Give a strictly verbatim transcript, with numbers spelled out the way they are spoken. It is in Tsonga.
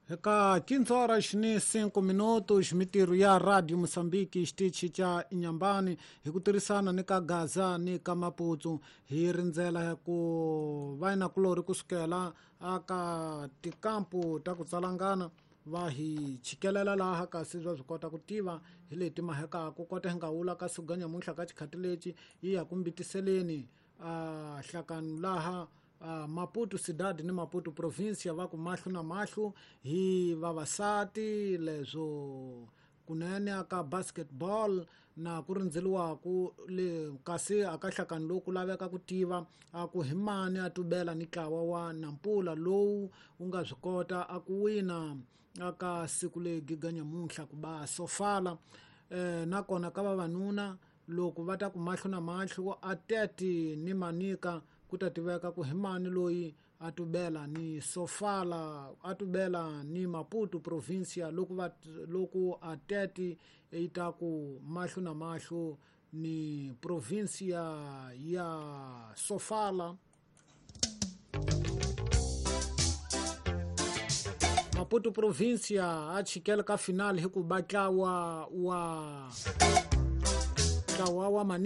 Eka quinze horas ni cinco minutos mitirho ya Radio Mozambique xitichi xa Inhambane hi ku tirhisana ni ka Gaza ni ka Maputo hi rindzela ku vainakulori kusukela aka tikampu ta ku tsalangana va hi chikelela laha kasi bya swi kota ku tiva hi leti mahekaku kota hi nga wula ka siku nyamuntlha ka xikhati lexi yi ya ku mbitiseleni a hlakanu laha Uh, Maputo cidade ni Maputo província va ku mahlo na mahlo hi vavasati leswo kunene aka basketball na ku rindzeliwaku le kasi aka hlakani loku laveka ku tiva a ku hi mani a tubela ni ntlawa wa Nampula lowu wu nga swi kota a ku wina aka siku le giga nyamuntlha ku ba Sofala eh, nakona ka vavanuna loko va ta ku mahlo na mahlo a Tete ni Manika ku ta tiveka ku hi mani loyi a tubela ni Sofala a tubela ni Maputo província loko va loko a Tete yi ta ku mahlo na mahlo ni província ya Sofala. Maputo província a chikela ka final hi ku ba ntlawa wa ntlawa wa Manika.